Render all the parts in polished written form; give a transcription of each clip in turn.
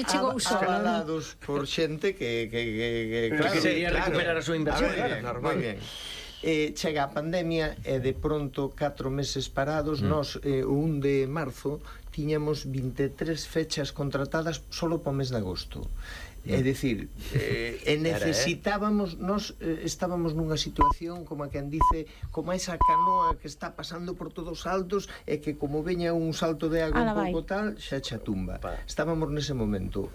avalados por xente que quería recuperar a súa inversión. Moi ben. Chega a pandemia e de pronto 4 meses parados. Nós, o 1 de marzo, tiñamos 23 fechas contratadas solo para o mes de agosto. É dicir, necesitábamos, nós estábamos nunha situación como a quen dice, como esa canoa que está pasando por todos os altos e que como veña un salto de agua un pouco tal, xa xa tumba. Estábamos nese momento,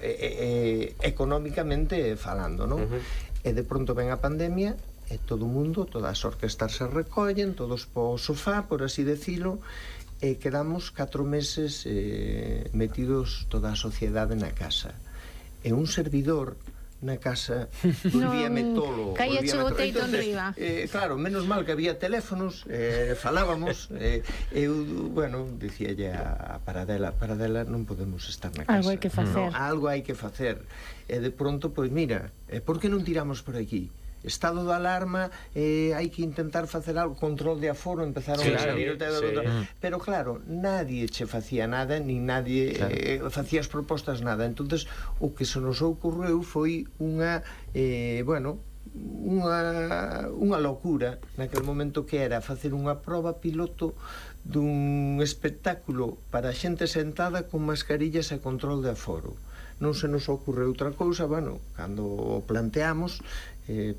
económicamente falando, non? E de pronto ven a pandemia e todo o mundo, todas as orquestas se recollen, todos po sofá, por así decilo, e quedamos 4 meses metidos toda a sociedade na casa. E un servidor na casa volvíame tolo. Caíache o teito enriba. Claro, menos mal que había teléfonos, falábamos, eu, bueno, dicíalle a Paradela, non podemos estar na casa. Algo hai que facer. Algo hai que facer. E de pronto, pois mira, por que non tiramos por aquí? Estado de alarma, hai que intentar facer algo, control de aforo, empezaron a salir, pero claro, nadie che facía nada, ni nadie facía as propostas nada. Entonces o que se nos ocorreu foi unha locura naquele momento, que era facer unha proba piloto dun espectáculo para xente sentada con mascarillas e control de aforo. Non se nos ocorreu outra cousa, bueno, cando o planteamos,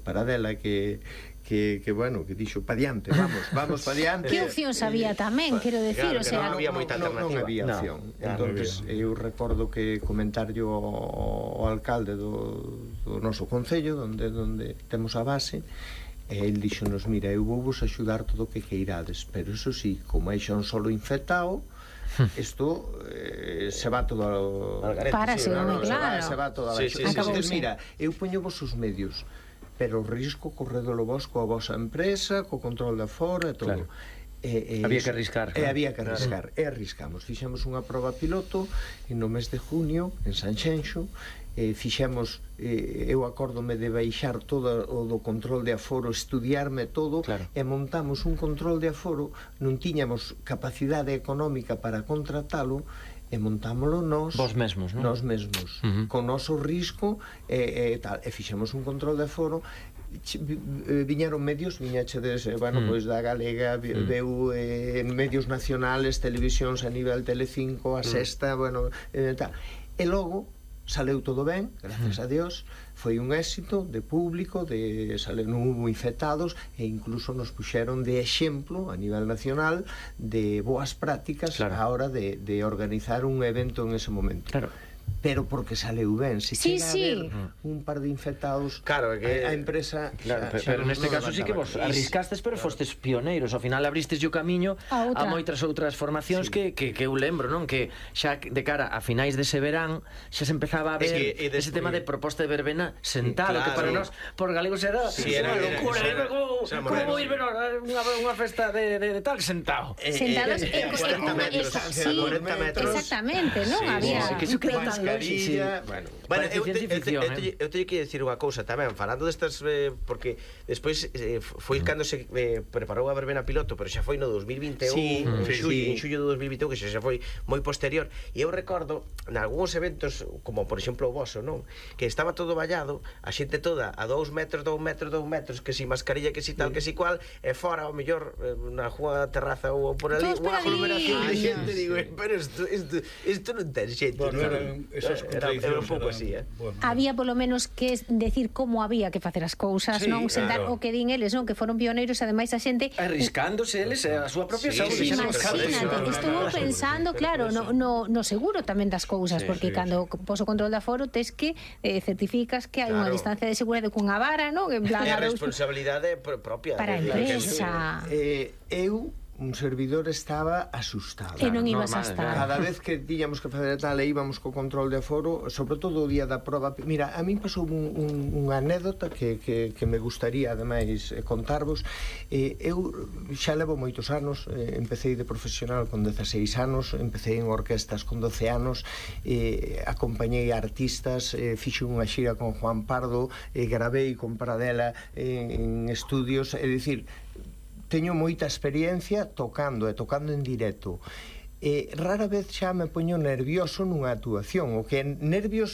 Paradela que dixo, pa diante, vamos pa diante. Que opcións había tamén, quero decir, o sea, non había moita alternativa. Non había opción. Entonces, eu recordo que comentarlle ao alcalde do noso concello, onde temos a base, e el dixonos, mira, eu vou vos axudar todo o que queirades, pero eso sí, como hai xa un solo infectado, isto se va todo Párase, claro. Se va todo a baixo. Mira, eu poño vos os medios, pero o risco corredolo vos coa vosa empresa, co control de aforo e todo. Había que arriscar. Había que arriscar. E arriscamos. Fixemos unha proba piloto no mes de junio en Sanxenxo. Fixemos, eu acórdome de baixar todo o do control de aforo, estudiarme todo, e montamos un control de aforo. Non tiñamos capacidade económica para contratalo, e montámoslo nós mesmos, con noso risco e tal, e fixemos un control de aforo. Viñeron medios, viñachedes, pois da Galega, veu medios nacionales, televisións a nivel Telecinco, a Sexta, tal, e logo saleu todo ben, gracias a Dios, foi un éxito de público, non hubo infectados, e incluso nos puxeron de exemplo a nivel nacional de boas prácticas a hora de organizar un evento en ese momento. Pero porque saleu ben. Se chega a haber un par de infectados, a empresa pero neste caso sí que vos arriscastes, pero fostes pioneiros. Ao final abristes o camiño a moitas outras formacións que eu lembro, non? Que xa de cara a finais dese verán xa se empezaba a ver ese tema de proposta de verbena sentado, que para nós, por galegos, era unha locura. Como vou ir ver unha festa de tal sentado? Sentados en 40 metros. Exactamente, non? Había mascarilla. Bueno, eu teño que decir unha cousa tamén, falando destas, porque despois foi cando se preparou a verbena piloto, pero xa foi no 2021, en xullo do 2021, que xa foi moi posterior. E eu recordo nalgúns eventos, como por exemplo o voso, non? Que estaba todo vallado, a xente toda a 2 metros, que si mascarilla, que si tal, que si cual, e fora, ao mellor, na rúa, terraza ou por ali, unha aglomeración de xente, digo, pero isto non ten xente. Era un pouco así, Había polo menos que decir como había que facer as cousas, non? Sentar o que din eles, non? Que foron pioneiros, ademais a xente arriscándose eles a súa propia saúde. Imagínate, estuvo pensando, claro, no seguro tamén das cousas, porque cando pos o control de aforo tes que certificas que hai unha distancia de seguridade cunha vara, non? En plan, a responsabilidade propia para a empresa. Eu, un servidor, estaba asustado. E non ibas a estar. Cada vez que tiñamos que fazer tal e íbamos co control de aforo, sobre todo o día da proba. Mira, a min pasou unha anécdota que me gustaría ademais contarvos. Eu xa levo moitos anos, empecé de profesional con 16 anos, empecé en orquestas con 12 anos, acompañei artistas, fixe unha xira con Juan Pardo, gravei con Paradela en estudios, é dicir, teño moita experiencia tocando en directo. Rara vez xa me poño nervioso nunha actuación. O que nervios